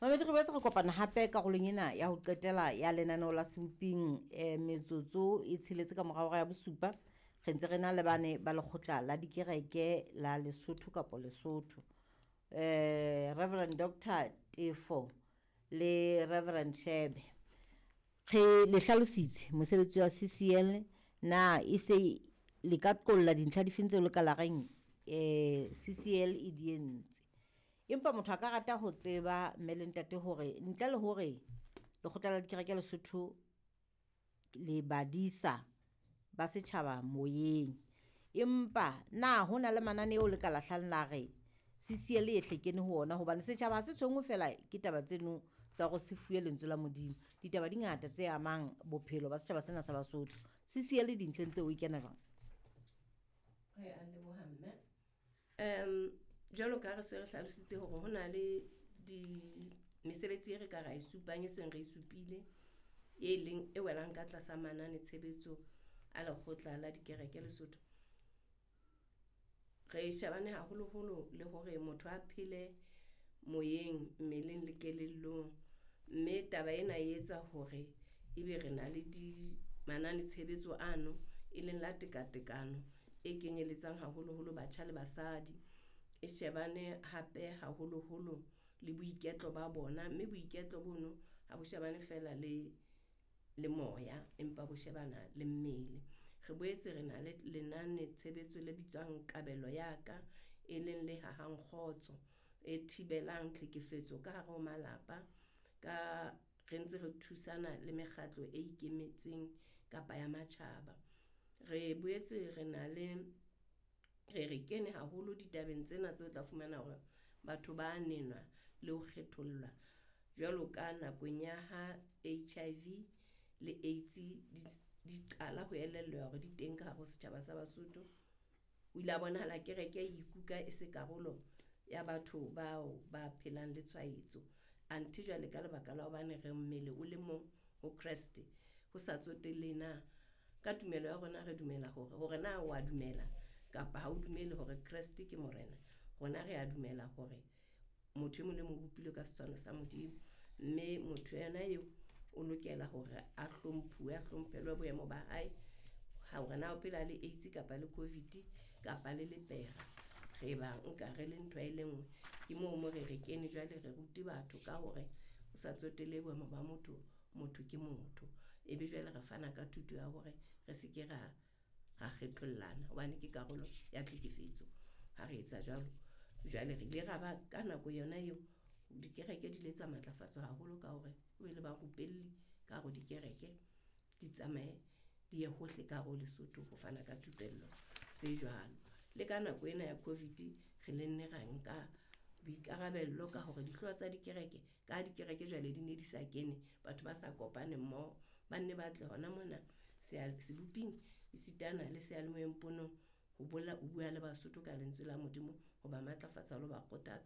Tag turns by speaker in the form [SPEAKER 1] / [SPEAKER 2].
[SPEAKER 1] Mamedi, re boetse re kopana hape karolong ena ya ho qetela ya lenaneo la Seboping, metsotso e tsheletse ka mora hora ya bosupa. Re ntse re na le bane ba lekgotla la dikereke la Lesotho kapa Lesotho. Reverend Doctor Tefo le Reverend Shebe. Re le hlalositse mosebetsi wa CCL na e se le ka qolla dintlha difeng tseo le ka la reng CCL e di entse. Empa motho a ka rata ho tseba mme le ntate hore ntle le hore lekgotla la dikereke Lesotho le badisa ba setjhaba moyeng, empa na hona le mananeo le ka lahlang la re CCL e hle kene ho ona hobane setjhaba ha se tshwenngwe feela ke taba tseno tsa hore se fuwe lentswe la Modimo. Ditaba di ngata tse amang bophelo ba setjhaba sena sa Basotho. CCL dintlheng tseo e kena jwang?
[SPEAKER 2] Re a leboha mme. Jwalo ka ha re se re hlalositse hore ho na le di mesebetsi e re ka ra e supang e seng re e supile, e leng e welang ka tlasa manane tshebetso a lekgotla la dikereke Lesotho. Re shebane haholoholo le hore motho a phele moyeng, mmeleng le kelellong. Mme taba ena e etsa hore ebe re na le di manane tshebetso ano, e leng la tekatekano e kenyelletsang haholoholo batjha le basadi. E shebane hape haholoholo le boiketlo ba bona, mme boiketlo bono ha bo shebane fela le moya, empa bo shebana le mmele. Re boetse re na le lenane tshebetso le bitswang Kabelo Ya Ka, e leng le hahang kgotso e thibelang tlhekefetso ka hare ho malapa. Ka re ntse re thusana le mekgatlo e ikemetseng kapa ya matjhaba. Re boetse re na le re kene haholo ditabeng tsena tseo tla fumana hore batho ba nenwa le ho kgethollwa jwalo ka nakong ya ha HIV le AIDS di qala ho elellwa hore di teng ka hare ho setjhaba sa Basotho. O ile a bonahala kereke e ikuka e se karolo ya batho bao ba phelang le tshwaetso. Anthe jwale ka lebaka la hobane re mmele o le mong ho Kreste, ho sa tsotellehe na ka tumelo ya rona re dumela hore na wa dumela kapa ha o dumele hore Kreste ke Morena. Rona re a dumela hore motho e mong le mong o bopilwe ka setshwano sa Modimo. Mme motho yena eo o lokela hore a hlomphuwe, a hlomphelwe boemo ba hae. Hore na o phela le AIDS kapa le COVID kapa le lepera, re ba nka re le ntho e le nngwe. Ke moo mo re re kene jwale re rute batho ka hore o sa tsotelle boemo ba motho, motho ke motho. Ebe jwale re fana ka thuto ya hore re seke ra kgethollana hobane ke karolo ya tlhekefetso ha re etsa jwalo. Jwale re ile ra ba ka nako yona eo dikereke di ile tsa matlafatswa haholo ka hore ho be le barupelli ka hare ho dikereke, di tsamaye di ye hohle ka hare ho Lesotho ho fana ka thupello tse jwalo. Le ka nako ena ya COVID re le nne ra nka boikarabello ka hore dihlooho tsa dikereke ka ha dikereke jwale di ne di sa kene, batho ba sa kopane mmoho, ba nne ba tle hona mona seboping esitana le seyalemoyeng ponong ho bua le Basotho ka lentswe la Modimo, ho ba matlafatsa le ho ba kgothatsa.